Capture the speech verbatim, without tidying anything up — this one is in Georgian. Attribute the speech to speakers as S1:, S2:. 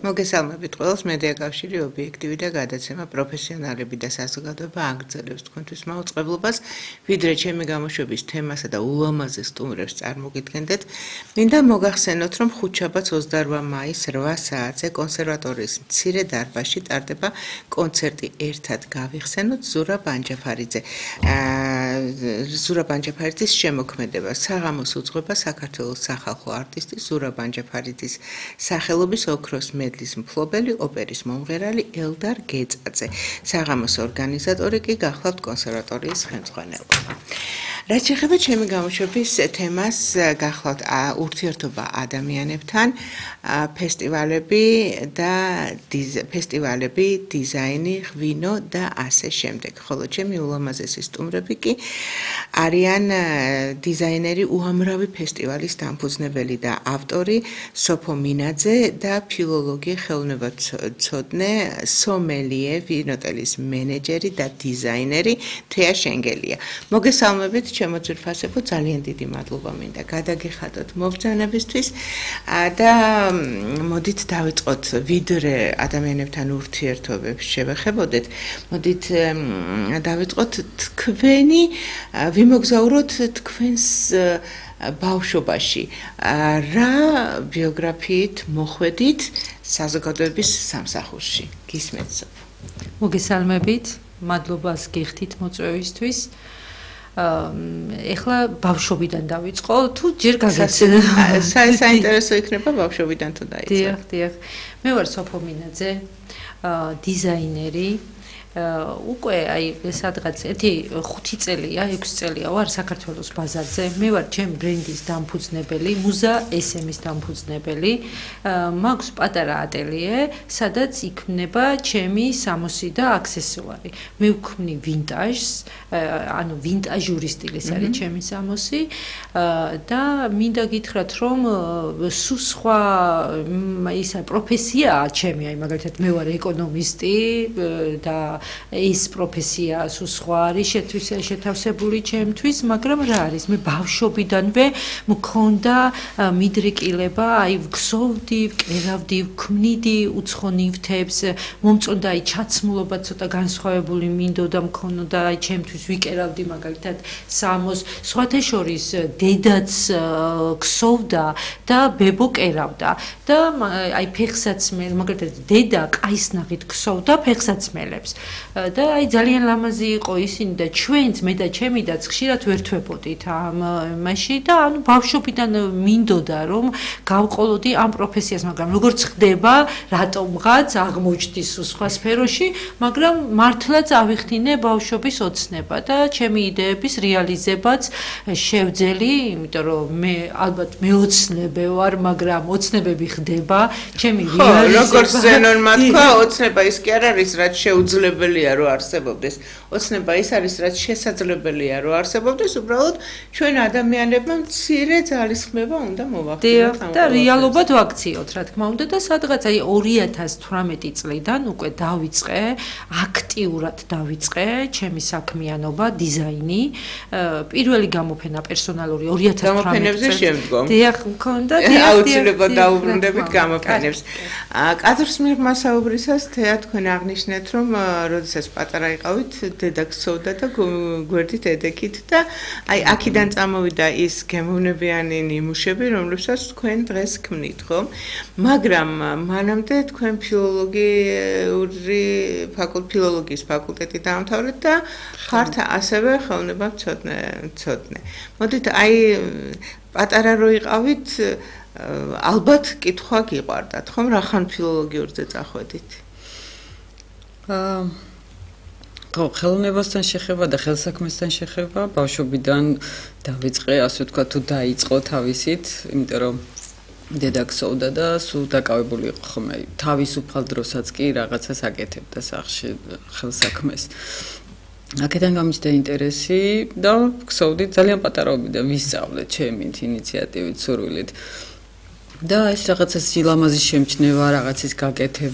S1: მოგესალმებით ყველას. მედია კავშირი ობიექტივი და გადაცემა პროფესიონალები და საზოგადოება აგრძელებს თქვენთვის მაუწყებლობას, ვიდრე ჩემი გამოშვების თემასა და ულამაზეს სტუმრებს წარმოგიდგენდეთ. მინდა მოგახსენოთ, რომ ხუთშაბათს ოცდაორმა მაისს რვა საათზე კონსერვატორიის მცირე დარბაზში ტარდება კონცერტი ერთად გავიხსენოთ ზურაბ ბანჯაფარიძე. ზურაბ ბანჯაფარიძის შემოქმედება საღამოს უძღვება საქართველოს სახალხო არტისტი ზურაბ ბანჯაფარიძის სახელობის ოქროს მედლის მფლობელი ოპერის მომღერალი ელდარ გეწაძე. საღამოს ორგანიზატორი კი გახლავთ კონსერვატორიის ხელმძღვანელობა. რაც შეეხება ჩემი გამოშვების თემას, გახლავთ ურთიერთობა ადამიანებთან, ფესტივალები და ფესტივალები, დიზაინი, ღვინო და ასე შემდეგ. ხოლო ჩემი ულამაზესი სტუმრები კი არიან დიზაინერი, უამრავი ფესტივალის დამფუძნებელი და ავტორი სოფო მინაძე და ფილოლოგი, ხელოვნებაცოდნე, სომელიე, ვინოტელის მენეჯერი და დიზაინერი თეა შენგელია. მოგესალმებით ჩემო ძვირფასებო, ძალიან დიდი მადლობა მინდა გადაგიხადოთ მობრძანებისთვის და მოდით დავიწყოთ ვიდრე ადამიანებთან ურთიერთობებს შევეხებოდეთ. მოდით დავიწყოთ თქვენი ვიმოგზაუროთ თქვენს ბავშვობაში. რა ბიოგრაფიით მოხვედით საზოგადოების სამსახურში? გისმენთ სოფო.
S2: მოგესალმებით, მადლობას გიხდით მოწვევისთვის. ეხლა ბავშვობიდან დავიწყო, თუ ჯერ გაგაცნო.
S1: საინტერესო იქნება ბავშვობიდან თუ დაიწყო.
S2: დიახ, დიახ. მე ვარ სოფო მინაძე, დიზაინერი. უკვე აი სადღაც ერთი ხუთი წელია, ექვსი წელია ვარ საქართველოს ბაზარზე. მე ვარ ჩემ ბრენდის დამფუძნებელი, მუზა ეს ემის დამფუძნებელი. მაქვს პატარა ატელიე, სადაც იქმნება ჩემი სამოსი და აქსესუარი. მე ვქმნი ვინტაჟს, ანუ ვინტაჟური სტილის არის ჩემი სამოსი და მინდა გითხრათ, რომ სულ სხვა ისა პროფესიაა ჩემი, აი მაგალითად მე ვარ ეკონომისტი და ეს პროფესია სულ სხვა არის შეთავსებული ჩემთვის, მაგრამ რა არის? მე ბავშვობიდანვე მქონდა მიდრეკილება, აი ვგსოვდი, ვკერავდი, ვქმნიდი უცხო ნივთებს, მომწონდა აი ჩაცმულობა ცოტა განსხვავებული მინდოდა მქონოდა, აი ჩემთვის ვიკერავდი მაგალითად სამოს, სხვათა შორის დედაც გსოვდა და ბებო კერავდა და აი ფეხსაცმელ, მაგალითად დედა კაისნაღით გსოვდა ფეხსაცმელებს. და აი ძალიან ლამაზი იყო ისინი და ჩვენც მე და ჩემი დაც ხშირად ვერთვებოდით ამ მასში და ანუ ბავშვობიდან მინდოდა რომ გავყოლოდი ამ პროფესიას, მაგრამ როგორც ხდება, რატომღაც აღმოჩნდის სხვა სფეროში, მაგრამ მართლაც ავიხდინე ბავშვობის ოცნება და ჩემი იდეების რეალიზებაც შევძელი, იმიტომ რომ მე ალბათ მეოცნებე ვარ, მაგრამ ოცნებები ხდება, ჩემი რეალიზება.
S1: როგორც ზენონმა თქვა, ოცნება ის კი არ არის, რაც შეუძლებელია რომ არსებობდეს. ოცნება ის არის, რაც შესაძლებელია რომ არსებობდეს, უბრალოდ ჩვენ ადამიანებმა მცირე ძალისხმევა უნდა მოვახდინოთ ამ
S2: და რეალობად ვაქციოთ, რა თქმა უნდა და სადღაც აი ორი ათას თვრამეტი წლიდან უკვე დავიწყე, აქტიურად დავიწყე ჩემი საქმიანობა, დიზაინი. პირველი გამოფენა პერსონალური ორი ათას თვრამეტი
S1: გამოფენებზე შემდგომ.
S2: დიახ, მქონდა, დიახ,
S1: აუცილებლად დაუბრუნდებით გამოფენებს. კადრს მიღმასაუბრისას თეა თქვენ აღნიშნეთ, რომ როდესაც პატარა იყავით, დედა გსოვდა და გვერდით ედექით და აი აქედან წამოვიდა ის გემოვნებიანი ნიმუშები, რომლებსაც თქვენ დღეს ქმნით, ხო? მაგრამ მანამდე თქვენ ფილოლოგიური ფილოლოგიის ფაკულტეტი დაამთავრეთ და ხართ ასევე ხელოვნებაცოდნე. მოდით აი პატარა რო იყავით, ალბათ კითხვა გიყვარდათ, ხომ? რახან ფილოლოგიურზე წახვედით?
S3: აა ხო, ხელოვნებასთან შეხება და ხელსაქმესთან შეხება ბავშვობიდან დავიწყე, ასე ვთქვათ, თუ დაიწყო თავისით, იმიტომ რომ დედა გსოვდა და სულ დაკავებული იყო ხომ, თავისუფალ დროსაც კი რაღაცას აკეთებდა სახლში ხელსაქმეს. აქედან გამიჩნდა ინტერესი და გსოვდი ძალიან პატარაობიდან ვისწავლე ჩემით ინიციატივით, სურვილით. და ეს რაღაცა სილამაზის შემჩნევა, რაღაცის გაკეთება